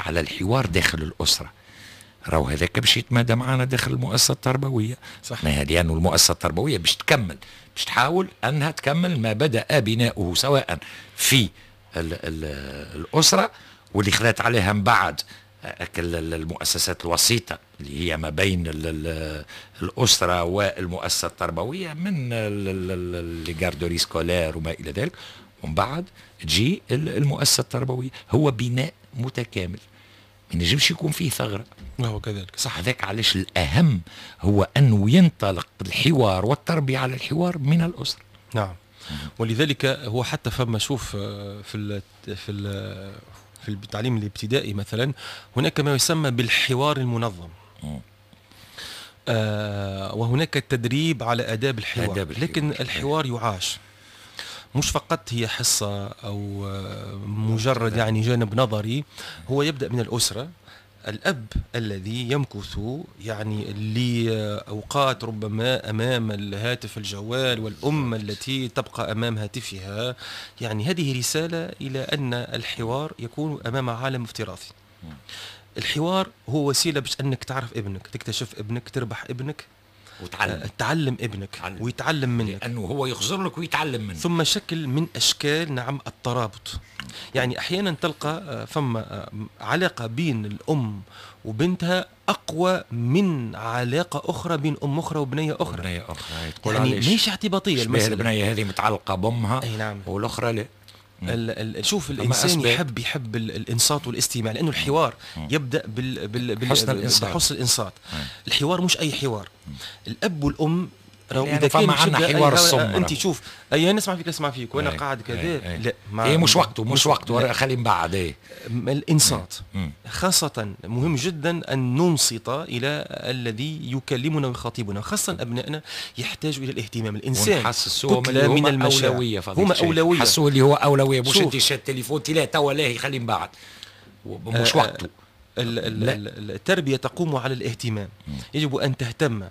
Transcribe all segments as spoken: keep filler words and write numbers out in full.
على الحوار داخل الاسره، راهو هذاك باش يتمادى معنا داخل المؤسسة التربويه. صح. ما لانه المؤسسة التربوية باش تكمل، باش تحاول انها تكمل ما بدا بناؤه سواء في ال ال الاسرة واللي خذت عليها من بعد المؤسسات الوسيطة اللي هي ما بين الاسرة والمؤسسة التربوية من les garderies scolaires وما الى ذلك، ومن بعد تجي المؤسسة التربويه. هو بناء متكامل، ما ينجمش يكون فيه ثغره. وهو كذلك. صح. هذاك علاش الاهم هو انه ينطلق الحوار والتربية على الحوار من الاسره. نعم، ولذلك هو حتى فما شوف آه، في ال في ال في التعليم الابتدائي مثلا هناك ما يسمى بالحوار المنظم، آه وهناك التدريب على آداب الحوار، آداب الحوار. لكن الحوار يعاش، مش فقط هي حصة أو آه، مجرد يعني جانب نظري. هو يبدأ من الأسرة، الأب الذي يمكث يعني لأوقات ربما أمام الهاتف الجوال، والأم التي تبقى أمام هاتفها، يعني هذه رسالة إلى أن الحوار يكون أمام عالم افتراضي. الحوار هو وسيلة باش أنك تعرف ابنك، تكتشف ابنك، تربح ابنك، وتعلم. آه، تعلم ابنك تعلم. ويتعلم منك. لانه هو يخزر لك ويتعلم منك. ثم شكل من اشكال نعم الترابط، يعني احيانا تلقى آه، فما آه، علاقة بين الام وبنتها اقوى من علاقة اخرى بين ام اخرى وبنيه اخرى. بنيه اخرى. تقول يعني علاش؟ ماهيش اعتباطيه شبيه المساله. البنية هذه متعلقه بامها اي نعم. والاخرى لا. ال ال شوف فما الانسان أسباب. يحب يحب ال- الانصات والاستماع، لانه الحوار يبدا بال بال بال حسن الإنصات. بحسن الانصات. مم. الحوار مش اي حوار، الاب والام راهو لأنه اذا كان فما عندنا تبدأ حوار أي- الصم انت راهو. شوف، اي نسمع فيك نسمع فيك وانا أي. قاعد كذا. أي. أي. لا. ما ايه، مش وقته، مش وقته. لا. خلي من بعد، ايه. الانصات مم. خاصة مهم جدا أن ننصت إلى الذي يكلمنا ويخاطبنا، خاصة أبنائنا يحتاجوا إلى الاهتمام. الإنسان ونحسسوهم كتلة اللي من هما المشاعر. اولويه. فضيلة هما الشيخ. أولوية. حسوه اللي هو اولويه، مش شوف. انت شاد التليفون، لا توا لاهي، خلي من بعد، مش آه، وقته. ال- ال- لا. ال- التربية تقوم على الاهتمام، يجب أن تهتم.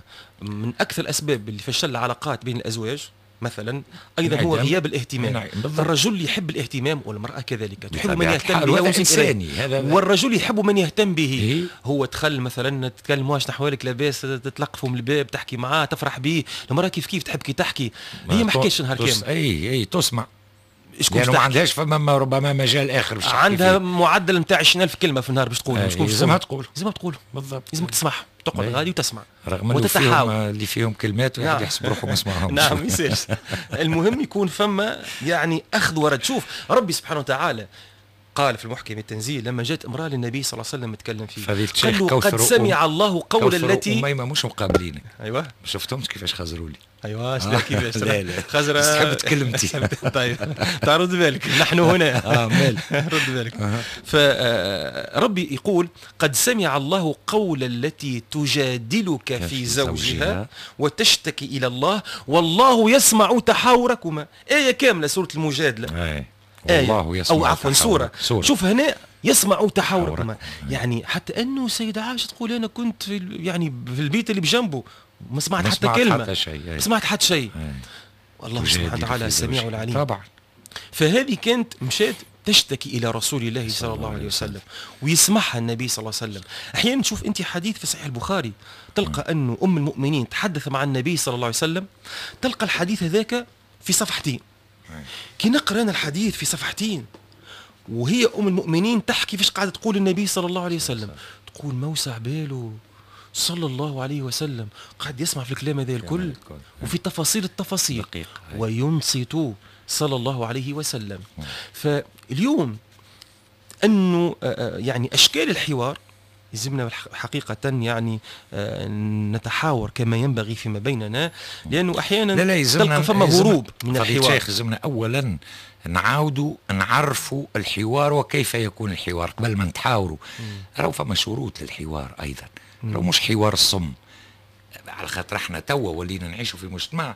من أكثر الأسباب اللي فشل العلاقات بين الأزواج مثلا أيضا هو انعدام. غياب الاهتمام. نعم، بالضبط. الرجل يحب الاهتمام والمرأة كذلك تحب من بطبيعة يهتم الحال، بها وهذا وينصت إليه. إنساني، هذا والرجل يحب من يهتم به. إيه؟ هو دخل مثلا تتكلم، واش نحوالك، لاباس، تتلقفوا من الباب، تحكي معاه، تفرح به. المرأة كيف كيف، تحب كي تحكي، هي ما حكاش نهار تس... كامل. اي اي تسمع. شكون لانه ما تحكي؟ عندهاش فما ربما مجال اخر باش تحكي عندها فيه. معدل نتاع عشرين ألف كلمة في النهار باش تقول. أي، شكون لازمها تقول. لازمها تقول. بالضبط. لازمك تسمعها، تقعد أي. غادي وتسمع رغم انه فيهم وتتحاور. اللي فيهم كلمات واحد نعم. يحسب روحه ما سمعهمش. نعم، يصير. المهم يكون فما يعني اخذ ورد. شوف ربي سبحانه وتعالى قال في المحكم التنزيل لما جاءت امراة للنبي صلى الله عليه وسلم تكلم فيه، فضيلة قال الشيخ له كوثر قد سمع الله قول كوثر التي أميمة مش مقابلينك. ايوه. ما شفتهمش كيفاش خزروا لي. ايوه، شنو كيفاش؟ لا لا. خزرة. بس تحب تكلمتي. طيب، تعال رد بالك، نحن هنا. اه مال. رد بالك. فربي يقول: قد سمع الله قول التي تجادلك في في زوجها زوجها. وتشتكي إلى الله والله يسمع تحاوركما. آية كاملة، سورة المجادلة. أي. آية. والله يسمع أو عفوا تحاور. سورة. سورة. شوف هنا يسمع تحاوركما. تحاوركم. يعني حتى أنه السيدة عائشة تقول أنا كنت في ال- يعني في البيت اللي بجنبه ما سمعت ما حتى سمعت كلمة، حتى شيء. أي. ما سمعت حتى شيء. أي. والله سبحانه تجادل وتعالى في السميع زوجها. العليم. طبعا. فهذه كانت مشات تشتكي الى رسول الله صلى الله عليه وسلم ويسمعها النبي صلى الله عليه وسلم. احيانا تشوف انت حديث في صحيح البخاري، تلقى انه ام المؤمنين تحدث مع النبي صلى الله عليه وسلم، تلقى الحديث هذاك في صفحتين. كي نقرا انا الحديث في صفحتين وهي ام المؤمنين تحكي فيش قاعدة تقول النبي صلى الله عليه وسلم، تقول موسع باله صلى الله عليه وسلم، قاعد يسمع في الكلام هذا الكل الكل. وفي تفاصيل التفاصيل دقيق. وينصت صلى الله عليه وسلم. فاليوم انه آه، آه، يعني اشكال الحوار يلزمنا حقيقة يعني آه، نتحاور كما ينبغي فيما بيننا، لأنه أحيانا لا لا، يلزمنا تلقى فما يلزمنا- هروب من فضيلة الحوار. الشيخ، يلزمنا اولا نعاودوا نعرفوا الحوار وكيف يكون الحوار قبل ما نتحاوروا. راهو فما شروط للحوار ايضا، راهو مش حوار الصم، على خاطر احنا توا ولينا نعيشوا في مجتمع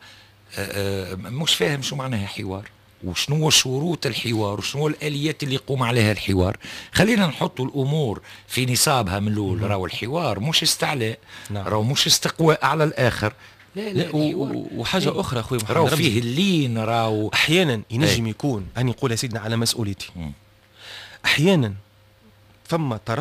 آه، آه، مش فاهم شو معناها حوار وشنو شروط الحوار وشنو الاليات اللي يقوم عليها الحوار. خلينا نحط الامور في نصابها من الاول. راهو الحوار مش استعلاء. نعم. راهو مش استقواء على الاخر، لا لا. لا، و- الحوار و- وحاجة إيه. أخرى أخوي محمد راهو رمزي. فيه اللين، راهو أحيانا ينجم إيه. يكون، أنا نقول يا سيدنا على مسؤوليتي، مم. أحيانا فما طرف